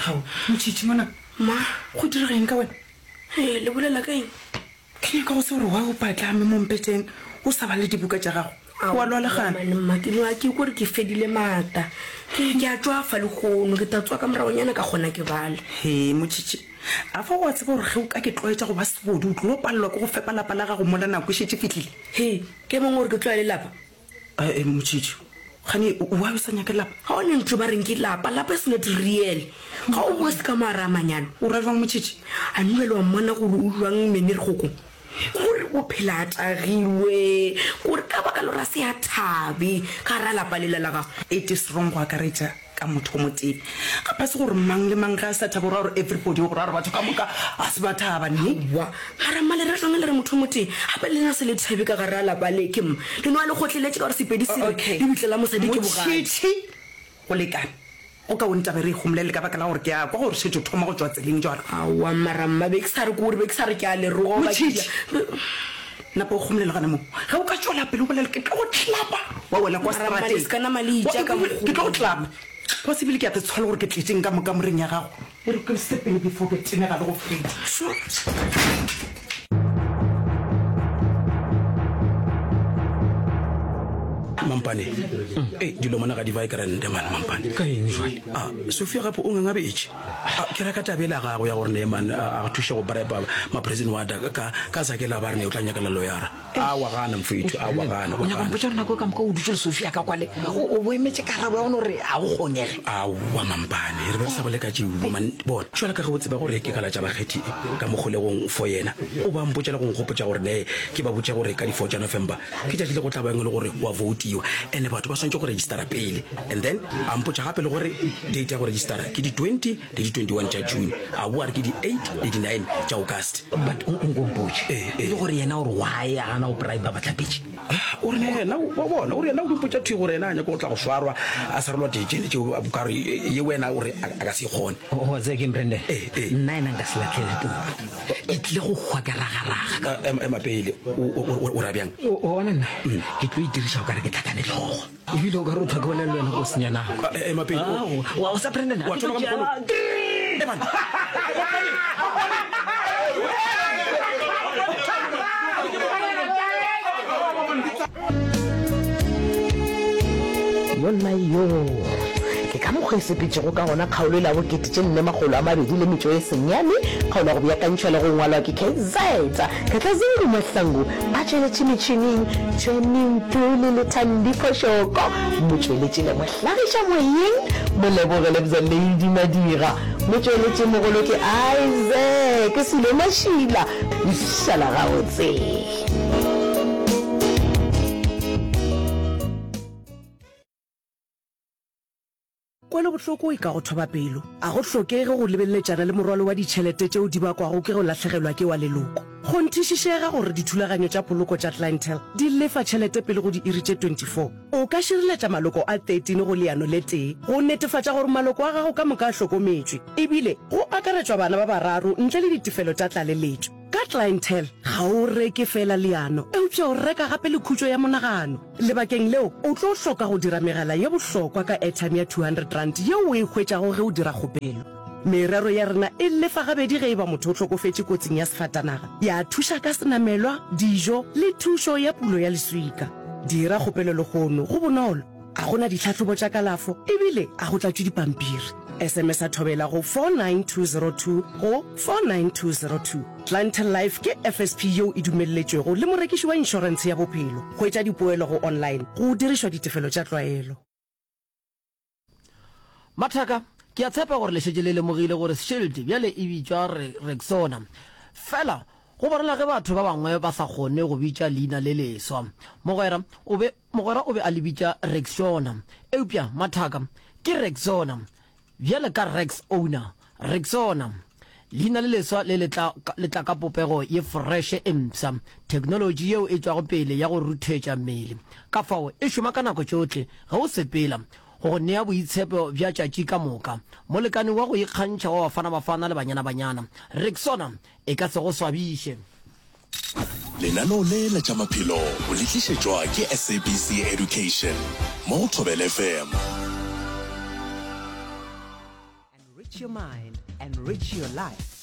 Gao, Motšhitšhi ngwana. Ma. Go direga eng ka wena? Ee, le bolela ka eng? Ke nyaka go se gore why o patlame mo mpeteng o sa bale dibuka tša gago. O a lwala gana? Aowa, mma, ke no ke kore ke fedile maata. Ke ke a tšwafa lehono, ke tla tsoga ka moragonyana ka kgona ke bale. Hee, Motšhitšhi, a fa o a tseba gore ge o ka ke tlwaetša go ba sebodu o tlo palelwa ke go fepa lapa la gago mola nako e šetše e fihlile? Hee, ke mong gore ke tlwaele lapa? Ee, Motšhitšhi, gane why o sa nyake lapa? Ga o ne ntho ba reng ke lapa, lapa is not real. Ga o boe se ka moara a manyalo. O ra jwang Motšhitšhi? A nna le wa mmona gore o jwang Mene Kgokong? Kore o phela a tagilwe, kore ka baka la gore a se a thabe ka gara lapa lela la gagwe. It is wrong go akaretša ka motho o motee. Gape ga se gore mang le mang ge a sa thaba o ra gore everybody, go ra gore batho ka moka ga se ba thaba, ne? Aowa, mara mma le ra jwang le re motho o motee? Gape le lena se le thabe ka gare ga lapa le, ke mma. Le no a le kgotleletše ka gore Sepedi se re, Okay. Lebitla la mosadi ke bogadi. Motšhitšhi, go lekane. Go kaone taba e re e homolele ka baka la gore ke a kwa gore šetše o thoma go tšwa tseleng jwalo. Aowa mara mma, be ke sa re ke gore be ke sa re ke a le roga goba ke Motšhitšhi, napa o homolele gona moo. Ge o ka tšwela pele o bolela ke tlo go tlapa wa wela kwa Mara mma, le seterateng. se ka nama le itša ka Ke tlo go mokgwa. tlapa. Wa tseba ebile ke a te tshola gore ke tletšeng ka mo kamoreng ya gago. E re ke sepele before ke tenega le go feta. Mampane, Ei, dilo mona ga di bae krande man, Mampane. Ka eng jwale? A, Sophia gape o ngangabetše. A, ke reka taba ela ya gagwe ya gore ne man a thuše go bribe ma-prison warder ka, ka Zakela ba re ne o tla nyakela loyara. A wa gana mfethu, a wa gana, O wa nyaka gana. mpotša gore nako e ka moka o dutše le Sophia ka kwale, o, o bo emetše karabo ya gona gore ga go kgonege? Aowa Mampane, re be re sa bole ka tšeo man. Bona, jwalo ka ge o tseba gore ke kalatša bakgethi ka mo kgolegong for yena, o ba mpotša le go nkgopotša gore ne ke ba botše gore ka di four tša November ke tšatši le go tla bang e le gore go a voutiwa and batho ba swanetše go registera pele and then a mpotša gape le gore date ya go registera ke di 20 le di 21 tša June, a boa a re ke di eight le di nine tša August. But o nko mpotše, Ee, e ee. le gore yena o re why a gana go bribe bahlapetši? Ah, o re yena, wa bona, o re yena o di mpotša thwi gore yena a nyaka go tla go swarwa, a sarelwa ditšene tšeo, ka gore ye wena o re a ka se e kgone. Wa tseba keng, Brandon? Ee, ee. Nna yena nka se lahlele toulo. Ke tlile go hwa ke ragaraga. Ah, ema, ema pele, o, o, o, o ra bjang? O, o bona nna, ke tlo itiriša o ka re ke tlhakane hlogo. Ebile o ka re o thwa ke bolela le wena go senya nako. Ah, ema pele. O, Wa o sa Brandon? wa thoma ka mokgwa o. Eh, man. Yonna yoo! Ke ka mokgwa e sepetšego ka gona kgaolo e la bokete tše nne makgolo a mabedi le metšo e senyane, kgaolo ya go beakantšhwa le go ngwalwa ke KZ Katlazungu Mahlangu a tšweletše metšhineng, Johnny Ntuli le Thandi Phoshoko, motšweletši le mohlagiša moyeng, Moleboge Lebza Lady Madira, motšweletši mogolo ke Isaac Silo Mašila, Šala gabotse. Kwelobohloko e ka go thoba pelo. A go hlokege go lebeleletšana le morwalo wa ditšhelete tšeo di bakwago ke go lahlegelwa ke wa leloko. Kgonthišišega gore dithulaganyo tša poloko tša Clientele di lefa tšhelete pele go diiri tše 24. O ka šireletša maloko a 13 go leano le tee go netefatša gore maloko a gago ka moka a hlokometšwe, ebile go akaretšwa bana ba bararo ntle le ditefelo tša tlaleletšo. Ka Clientele, ga o reke feela leano, eupša o reka gape le khutšo ya monagano. Lebakeng leo, o tlo hloka go dira megala ye bohlokwa ka airtime ya R200 yeo o e hwetšago ge o dira kgopelo. Merero ya rena e lefa gabedi ge e ba motho o hlokofetše kotsing ya sefatanaga, ya thuša ka senamelwa, dijo le thušo ya pulo ya leswika. Dira kgopelo lehono, go bonolo, ga go na ditlhahlobo tša kalafo ebile ga go tlatšwe dipampiri. SMS-a Thobela go 49202 go 49202. Clientele Life ke FSP yeo e dumelletšwego le morekiši wa inšorentshe ya bophelo. Hwetša dipoelo go online go dirišwa ditefelo tša tlwaelo. Mathaka, ke a tshepa gore le šetše le lemogile gore Shield bjale e bitšwa Rexona. Fela go bonala ge batho ba bangwe ba sa kgone go bitša leina le leswa. Mogwera o be Mogwera o be a le bitša Rexona. Eupša, mathaka, ke Rexona. Bjale ka Rex Owner, Rexona. Leina le leswa le le tla, le tla ka popego ye foreše e mpsha, theknolotši yeo e tšwago pele ya go ruthetša mmele. Ka fao, e šoma ka nako tšohle ge o sepela, go go nea boitshepo bja tšatši ka moka. Molekane wa go ikgantšha wa Bafana Bafana le Banyana Banyana. Rexona e ka se go swabiše. Lenaneo le la tša maphelo o le tlišetšwa ke SABC Education mo go Thobela FM. Enrich your mind, enrich your life.